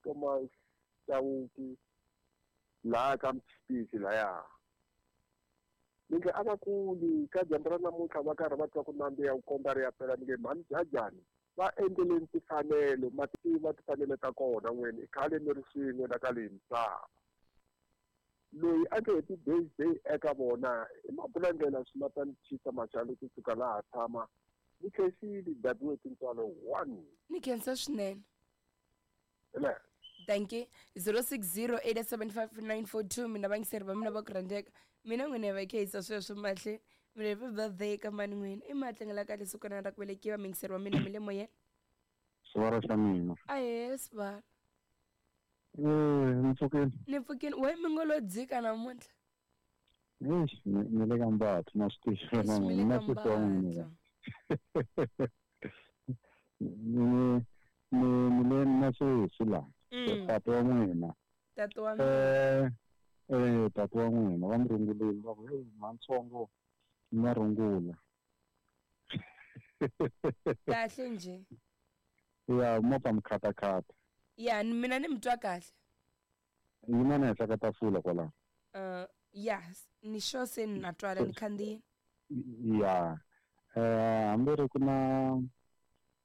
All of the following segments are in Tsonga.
Thomas Chauke laha ka Mtshipisi laya. Ni nge a va kuli ka dyambu ra namuntlha va karhi va twa ku nandziha ku komba ri ya pela ni nge mhani Jajani va endleleni timfanelo ma tiva timfanelo ta kona n'wini i khale mi ri swin'we la ka leyi misava. Loyi a nge happy birthday eka vona i mabulandlela swimatani chisa maxalo kusuka laha tshama ni khensile dabiwe tintswalo 1. Ni khensa swinene. Ele. Dankie. 0608755942 mina vayingiseri va mina va ku rhandzeka. Mina n'wina va khehisa sweswo mahle. Mina happy birthday ka mani n'wina. I matlangela kahle siku ra ku velekiwa muyingiseri wa mina mi le moyeni. Sivara xa mina. Ahee sivara. Eh, ni pfukile. Ni pfukile. We mi ngo lo dzika namuntlha. Eish, ni le ka mbathu ma swi tiva Eish, mi le na ka sesi wa n'wina. mbathu. Ni ni ni le na sesi la. Tata wa n'wina. Tata wa mina. Eh eh tata wa n'wina va mi rungulile va ku hey mantsongo na rungula. Kahle nje. Ya mo pa mi khatakhata. Ya mina ni mi twa kahle. Yima na henhla ka tafula kwalaho. Ya ni sure se ni na twala ni khandziyile. Ya eh hambi ri ku na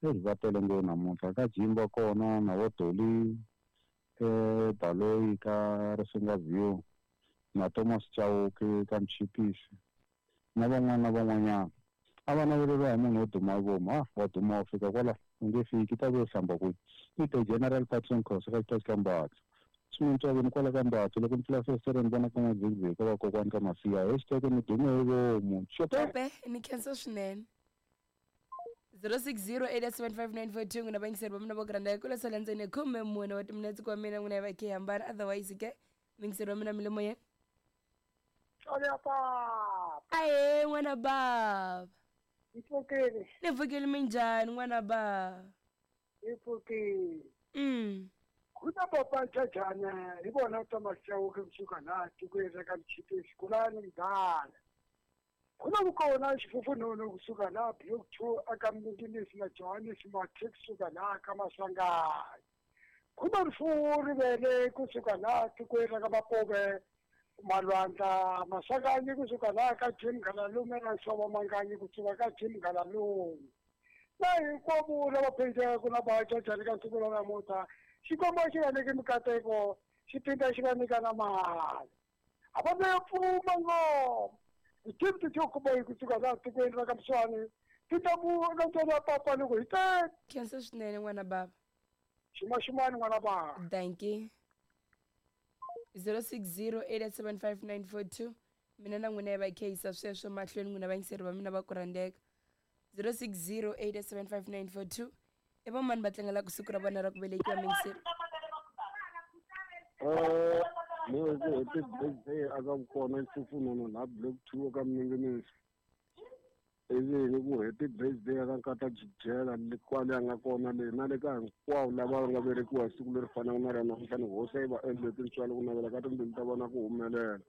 eyi va tele ngopfu namuntlha ka Jimba kona na vo Dolly eh Baloyi ka Risinga View na Thomas Chauke ka Mchipisi na van'wana na van'wanyana a va naveleriwa hi munhu wo duma vomu ah wa duma wa fika kwala u nge fiki ta ve hlamba kwihi i the general Patson Khosa ka xitachi ka Mbatha swimintswaveni kwala ka Mbatha loko ni pfula fesitere ni vona ka n'wadzingdziki ka vakokwani ka Masiya hashtag ni dume hi vomu xope Xope ni khensa swinene. 06087594 n'wina vayingiseri va mina vo granda kula sala ndzeni khume mune wa timinetse kwa mina n'wina va khe hambana otherwise ke muyingiseri wa mina mi le moyeni. Tswalo ya papa. Ahee n'wana bava. Ni pfukile. Ni pfukile minjhani n'wana bava? Ni pfukile. Ku na papa Jajana hi vona Thomas Chauke kusuka laha tikweni ra ka Mchipisi kulani mdala. Ku na vukona xifufununu kusuka laha Block 2 aka Mninginisi na Johannes Mathe kusuka laha ka Maswanganyi. Ku na rifuwo rivele kusuka laha tikweni ra ka Mapuve Malwandla Maswanganyi kusuka laha ka Jim Ngalalume na Nsovo Manganyi kusuka ka Jim Ngalalume. Na hinkwavo lava phendlaka na va Jajani ka siku ra namuntlha Xikwembu xi va nyike mikateko xi phinda xi va nyika na mali. A va ve pfuma ngoma. Ti-team ti tyo kuma hi kusuka laha tikweni ra ka Mswani ti ta mu na ntswalo ya papa loko hi tele. Khensa swinene n'wana bava. Ximaximani n'wana bava. Dankie. 06087594 mina na n'wina hi va khehisa sweswo mahlweni n'wina vayingiseri va mina va ku rhandzeka. 06087594 i vamani va tlangelaka siku ra vona ra ku velekiwa muyingiseri? Ni ku happy birthday aka vukona xifufununu laha Block 2 aka Mninginisi. Ivi ni ku happy birthday aka nkata Jijela le kwale a nga kona le na le ka hinkwavo lava nga velekiwa hi siku leri fanaka na ra namuntlha ni hosi yi va endle tintswalo ku navela ka timbilu ta vona ku humelela.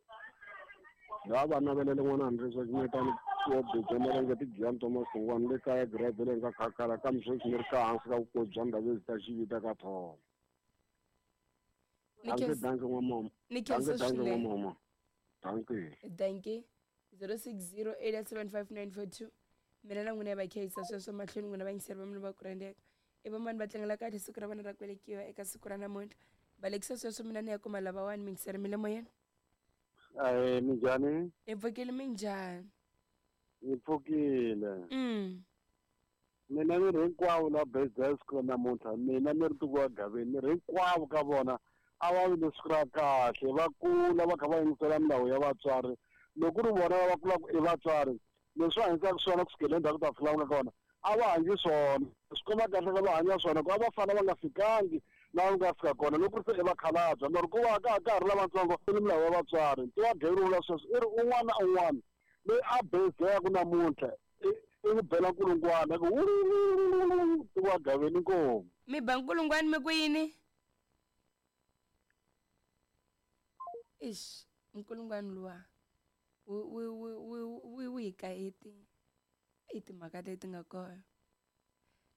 Laha va navelele n'wana Andresa Ximetani wa Budzo Marenga Tigiyani Thomas Sungwani le kaya Girabeleni ka Khakhala kambe sweswi ni ri ka hansi ka vukosi bya Ndabezi ta Xivita ka Tholo. Ni Dankie, khensa dankie n'wamama. ni Dankie, khensa dankie swinene. n'wamama. Dankie. Dankie. 06087594 mina na n'wina va khehisa sweswo mahlweni n'wina vayingiseri va mina va ku rhandzeka. I vamani va tlangela kahle siku ra vona ra ku velekiwa eka siku ra namuntlha. Balekisa sweswo mina ni ya kuma lavawani muyingiseri mi le moyeni. Ahee minjhani? Hi pfukile minjhani? Ni pfukile. Mina ni ri hinkwavo la birthday siku ra namuntlha mina ni ri tiko wa Gaveni ni ri hinkwavo ka vona a va vi ni siku ra kahle va kula va kha va yingisela milawu ya vatswari loko ku ri vona lava kulaka i vatswari leswi va hanyisaka swona kusukela endzhaku ta fika la nga kona a va hanyi swona swi komba kahle ka va hanya swona ku a va fana va nga fikangi laha va nga fika kona loko ku ri se i vakhalabya mara ku va ka ha ka ha ri lavatsongo i ni milawu ya vatswari ntiwa Gaveni vula sweswo i ri un'wana na un'wana loyi a birthday-aku namuntlha i i n'wi bela nkulungwana ku ntiwa Gaveni inkomu. Mi ba nkulungwana mi ku yini? Ixi nkulungwana luwa wu wu wu wu wu hi kaheti i timhaka leti nga kona.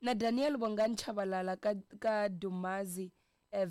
Na Daniel Bongani Chabalala ka ka Dumazi eh,